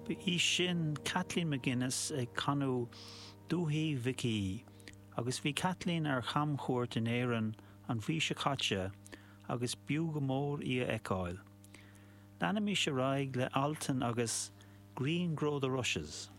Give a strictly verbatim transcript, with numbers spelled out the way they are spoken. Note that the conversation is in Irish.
Ba í sin Kathleen McGuinness ag canadh Dúthaigh Mhic Aoidh, agus bhí Kathleen ar chamchuairt in Éirinn an mhí seo caite agus b'fhiú go mór í a fheiceáil. Leanaimis ar aghaidh le Altan agus Green Grow the Rushes.